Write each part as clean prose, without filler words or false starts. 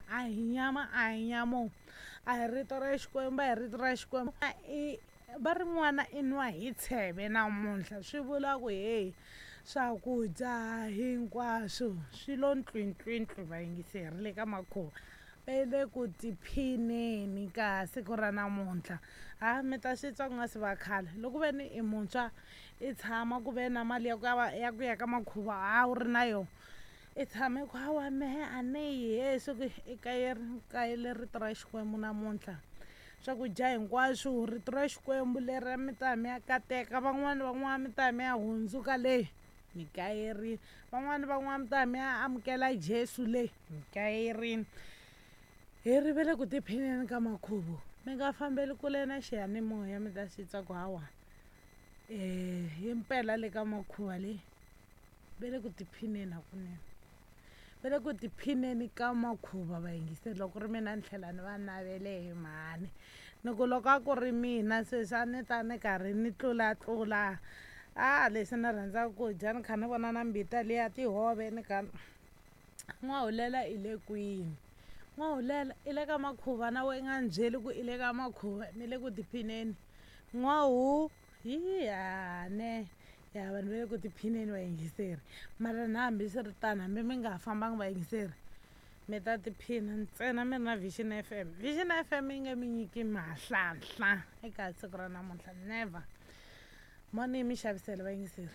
A hi nyama, a hi nyamo, a hi rito ra Xikwembu, a hi rito ra Xikwembu. I va ri n'wana i nwa hi tsheve namuntlha, swi vula ku heyi, swakudya hinkwaswo swi lo ntlwintlwintli. Vayingiseri le ka makhuva va le ku tiphineni ka siku ra namuntlha. Ha mi ta swi twa ku nga si va khale. Loko ve ni i muntshwa, i tshama ku ve na mali ya ku ya ku ya ka makhuva, ha wu ri na yona, i tshame ku hawa mehe a ni yi he swi ku i kayele rito ra Xikwembu namuntlha. Swakudya hinkwaswo, rito ra Xikwembu leri mi ta mi ya kateka van'wani, van'wana mi ta mi ya hundzuka leyi mi kayerini, van'wani, van'wana mi ta mi ya amukela Jesu leyi mi kayerini. Hi ri ve le ku tiphineni ka makhuvo, mi nga fambeli kule na xiyanimoya, mi ta swi twa ku hawa himpela le ka makhuva leyi ve le ku tiphineni hakunene, va le ku tiphineni ka makhuva. Vayingiseri, loko ku ri mina ni tlhela ni va navele hi mhani, ni ku loko a ku ri mina sweswi a ni ta ni karhi ni tlulatlula a leswi ni rhandzaka ku dya, ni kha ni vona na mbita liya tihove. Ni kha n'wahulela i le kwini? N'wahulela i le ka makhuva na we nga ni byeli ku i le ka makhuva, mi le ku tiphineni. N'wahu hi ne ya vanhu va le ku tiphineni, vayingiseri. Mara na hambi swi ri tano, hambi mi nga ha fambangi, vayingiseri, mi ta tiphina ntsena mi ri na Vision FM. Vision FM yi nge mi nyiki mahlanhla eka siku ra namuntlha, never. Moni yi mi xavisela, vayingiseri.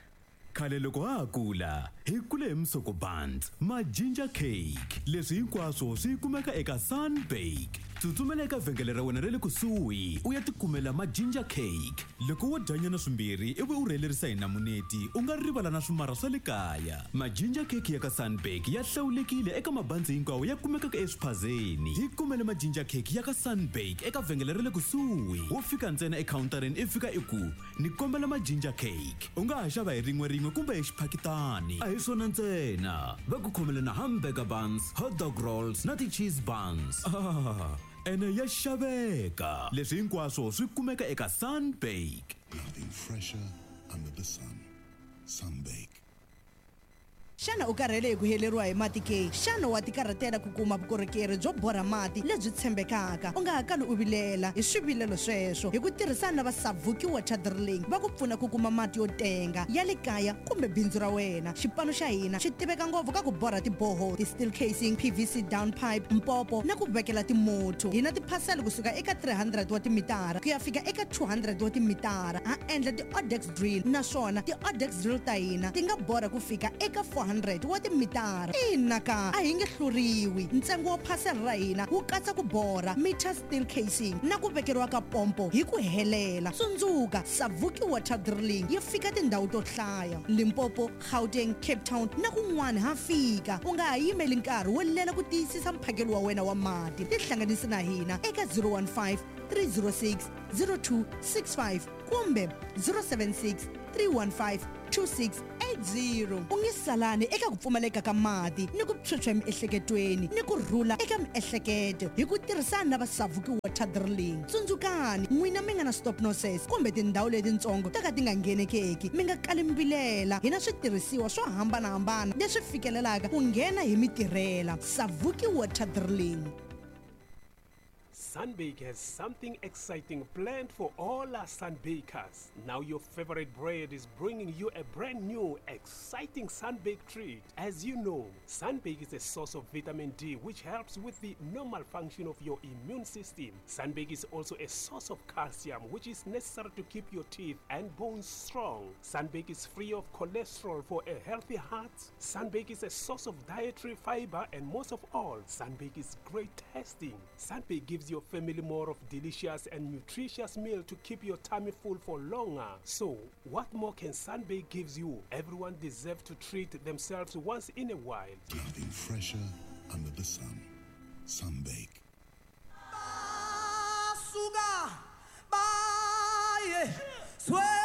Khale loko ha ha kula, hi kule hi musoko buns, ma-ginger cake. Leswi hinkwaswo swi kumeka eka Sunbake. Tsutsumela eka vhengele ra wena ra le kusuhi u ya tikumela ma-ginger cake. Loko wo dyanyana swimbirhi ivi u rhelerisa hi namuneti, u nga rivala na swimarha swa le kaya. Ma-ginger cake ya ka Sunbake ya hlawulekile eka mabanzi hinkwawo ya kumekaka eswiphazeni. Hi kumele ma-ginger cake ya ka Sunbake eka vhengele ra le kusuhi. Wo fika ntsena ekhawuntareni i fika i ku, Ni kombela ma-ginger cake. U nga ha xava hi rin'we-rin'we kumbe hi xiphakitani. A hi swona ntsena, va ku khomele na hamburger buns, hot dog rolls na ti-cheese buns. Ah, ene ya xaveka! Leswi hinkwaswo swi kumeka eka Sunbake. Nothing fresher under the sun. Sunbake. Xana u karhele hi ku heleriwa hi mati ke? Xana wa tikarhatela ku kuma vukorhokeri byo borha mati lebyi tshembekaka? U nga ha kali u vilela hi swivilelo sweswo. Hi ku tirhisana na va Savuki Water Drilling, va ku pfuna ku kuma mati yo tenga ya le kaya kumbe bindzu ra wena. Xipano xa hina xi tiveka ngopfu ka ku borha ti-borehole, ti-steel casing, PVC down pipe, mpopo na ku vekela timothu. Hi na tiphasela kusuka eka 300 wa timitara ku ya fika eka 200 wa timitara. Ha endla ti-odex drill naswona ti-odex drill ta hina ti nga borha ku fika eka 400 wa timitara. Ina ka, a hi nge hluriwi. Ntsengo wa phasela ra hina wu katsa ku borha, meter steel casing na ku vekeriwa ka pompo hi ku helela. Tsundzuka, Savuki Water Drilling yi fika tindhawu to hlaya, Limpopo, Gauteng, Cape Town na kun'wana ha fika. U nga ha yimeli nkarhi wo lela ku tiyisisa mphakelo wa wena wa mati. Tihlanganisi na hina eka 015 306 0265 kumbe 076 315 2680. U nge salani eka ku pfumaleka ka mati ni ku phyuphya emiehleketweni ni ku rhula eka miehleketo hi ku tirhisana na va Savuki Water Drilling. Tsundzukani, n'wina mi nga na stop noses kumbe tindhawu letintsongo to ka ti nga nghenekeki, mi nga kali mi vilela. Hi na switirhisiwa swo hambana-hambana leswi fikelelaka ku nghena hi mi tirhela. Savuki Water Drilling. Sunbake has something exciting planned for all our Sunbakers. Now your favorite bread is bringing you a brand new, exciting Sunbake treat. As you know, Sunbake is a source of vitamin D, which helps with the normal function of your immune system. Sunbake is also a source of calcium, which is necessary to keep your teeth and bones strong. Sunbake is free of cholesterol for a healthy heart. Sunbake is a source of dietary fiber, and most of all, Sunbake is great tasting. Sunbake gives your family more of delicious and nutritious meal to keep your tummy full for longer. So, what more can Sunbake gives you? Everyone deserves to treat themselves once in a while. Nothing fresher under the sun. Sunbake. Basuka baye.